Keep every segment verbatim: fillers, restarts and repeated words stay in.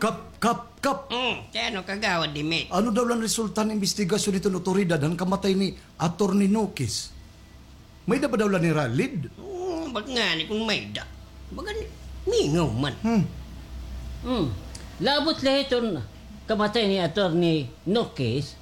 Kap, kap, kap. Hmm, kay ano, Kagawad Dimit? Ano daw la an resulta han imbestigasyon hiton otoridad han kamatay ni Attorney Nokis? May-ada ba daw la niralid? Hmm, baga ngani kon may-ada. Baga ni, mingaw man. Hmm. Hmm. Labot la hiton kamatay ni Attorney Nokis.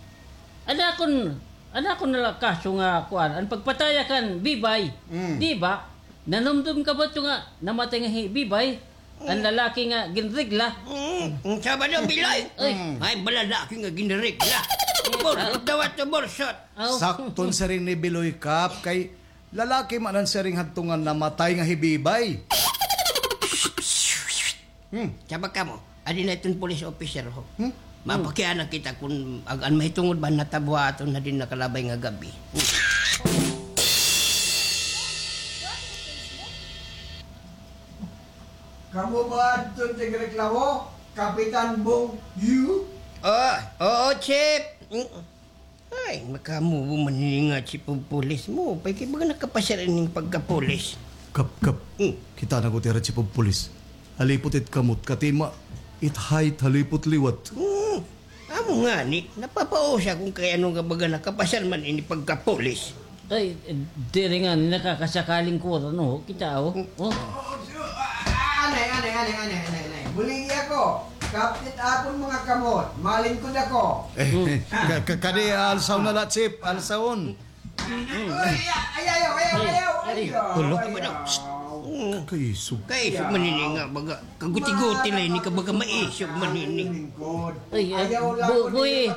Ada kon, ada kon na la kaso nga kuan, an pagpatay kan Bibay. Hmm. Di ba? Nanumdom ka ba ito nga namatay nga hi Bibay? An lalaki nga ginregla. Mm, mm, Sabado, Biloy. Ay. Ay, balalaki nga ginregla. Bursot daw ato, bursot. Aw. Sakto an siring ni Biloy, Kap, kay lalaki man an siring hadto nga namatay nga hi Bibay. Hmm. Sabak kamo, adi na iton police officer, ho. Hmm? Mapakiana kita kon ag-, an mahitungod ba natabuha aton hadin nakalabay nga gab-i. Hmm. Kamo ba adto tigreklamo, Kapitan Bong Yu? Ah, oo, Chief. Mm. Ay, makamubo man ini nga chief of police mo. Pay kay baga nakapasyar ining pagkapulis. Kap, kap. Mm. Kita na ko tira chief of police. Halipot it kamot, katima, it height, halipot liwat. Mm. Amo ngani, napapausa kon kay ano nga baga nakapasyar man ini pagkapulis. Ay, diri nga nakakasakaling kuro, no? Kita, oh. Oh. Anay, anay, anay, anay, anay, anay. Buligi ako. Kapit akon mga kamot. Malingkod ako. Eh, ka-, ka-, kadi, alsahon na la, Chief. Alsahon. Ay, ay, ayaw, ayaw, ayaw, ayaw. Ulo. Ayaw. Kaisog. Kaisog man ini nga baga. Kaguti-guti la ini ka baga maisog man ini. Ay, ay, buhi.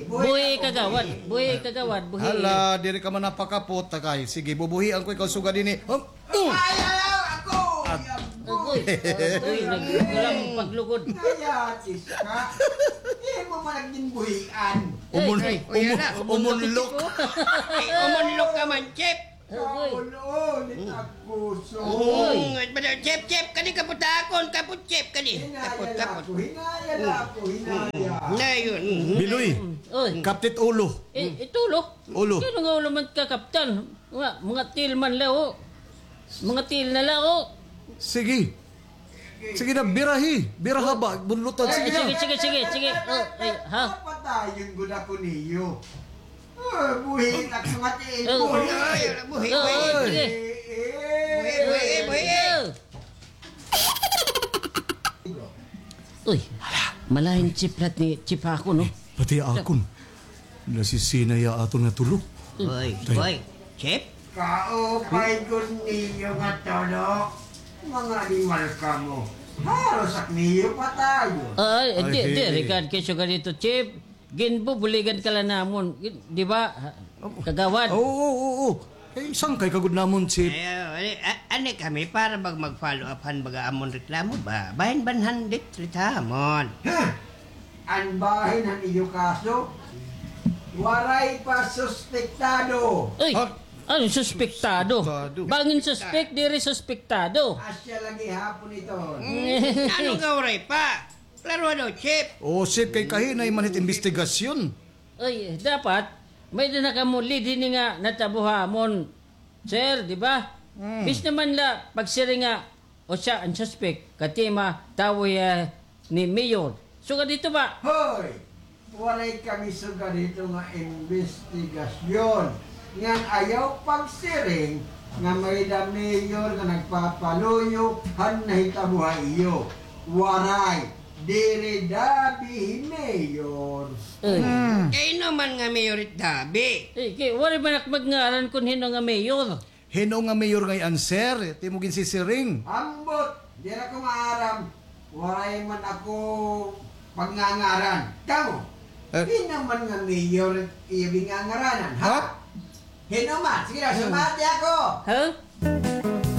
Buhi, kagawad. Buhi, kagawad. Buhi. Hala, diri ka man napakapot, takay. Sige, bubuhian ko ikaw sugad ini. Hop. Ay, ay, ay, ako! Agoy, agoy, nagkulang paglugod. Kaya, sis ka. Imo man nagginbuhian. Umun-, ay, ay, umun-, umunlok. Ay, umunlok ka man, Chief. Agoy. Kaulo, ni Takuso. Agoy. Mm, Chief, Chief, kadi kapot akon, kapot, Chief, kadi. Hinaya la ako, hinaya la ako, hinaya. Dayon. Biloy, oy. Kaptit ulo. Eh, it ulo? Ulo. Kay ano nga ulo man kakaptan? Mga, mga tiil man la, oh. Mga tiil na la, oh. Sige. Sige na, birahi. Biraha ba? Bunlutan. Sige, sige, sige, sige, sige. Oh, ay, ha? Papatayon gud ako niyo. Ah, buhi, nagsungat eh. Oh. Buhi. Ay, buhi, oh, buhi. Sige. Eh, eh. Buhi, buhi, buhi. Oh. Uy, malain chiplat ni Chip ako, no? Eh, pati akon. Nasisina ya aton nga tulo. Hoy, hoy, Chip? Kaupay gud niyo nga tulo. Mga animal kamo. Haros ak niyo patayon. Ay, di, di, regard kay sugad dito, Chip. Ginbubuligan ka la namon, di ba? Kagawad. Oo, oo, oo. Eh, sangkay ka gud namon, Chip. Ay, ani kami para bag mag-follow up han baga amon reklamo ba? Bahin ba han diri ha amon? Ha? An bahin han iyo kaso, waray pa suspektado. Ay, ano suspektado? Bangin suspek, diri suspektado. Asya la gihapon ito. Ano nga waray pa? Klaro daw, Chief. O, Chief, kay kahinay man it imbestigasyon. Ay, dapat, may-ada na kamo lead hini nga natabo ha amon, sir, di ba? Bis naman la, pagsiring nga, o siya an suspek, katima, tawo hiya ni Mayor. Sugad dito ba? Hoy! Waray kami sugad dito nga imbestigasyon. Ngan ayaw pagsiring nga may-ada mayor nga nagpapaluyo han nahitabo ha iyo. Waray. Diri Dabi hi mayor. Kay hin-o man nga mayor it Dabi? Eh, kay waray man ak magngaran kon hin-o nga mayor. Hin-o nga mayor ngay-an, sir? It imo ginsisiring. Ambot, diri ako maaram. Waray man ako pagngangaran. Kamo, hin-o man nga mayor it iyo gingangaranan, ha? Hin-o man? Sige na, sumati ako. Ha?